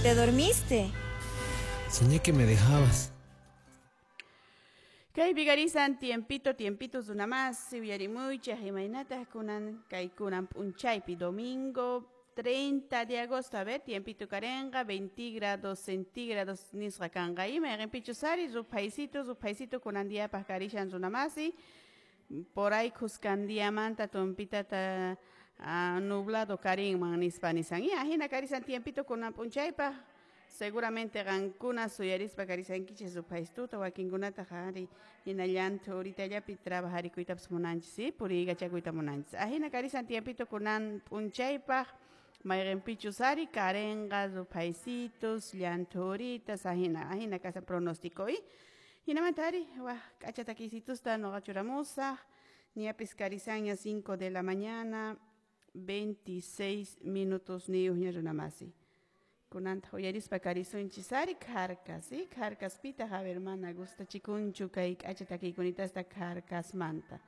Te dormiste. Soñé que me dejabas. Kaypi karisan tiempito, tiempito runamasi uyarimuychik imaynataq kunan kay kunan p'unchaypi domingo 30 de agosto, a ver, tiempito karenqa 20 grados centígrados nisqa kanqa ima mayqinpichus ari ruphaysito, ruphaysito kunan diapaq karishan runamasi por ahí khuskan diamanta tumpitata nublado karinman nispa nisan y ahina karisan tiempito kunan p'unchaypaq seguramente qankuna suyarispa karisankichis ruphaystuta wakinkunataq ari hina llanthu horitallapi trabajarikuytapas munanchis, ¿sí? Puriykachakuyta munanchis ahina karisan tiempito kunan p'unchaypaq mayqinpichus ari karenqa ruphaysitos llanthu horitas ahina ahina kasan pronóstico y hinamanta ari wak k'acha takiysitusta nuqa churamusaq ñapis karisanña 5 de la mañana 26 minutos niyuqña runamasi kunantaq uyarispa karisunchis ari kharkas, ¿sí? Kharkaspitaq, a ver, mana gustachikunchu kay k'acha takiykunitasta kharkasmanta.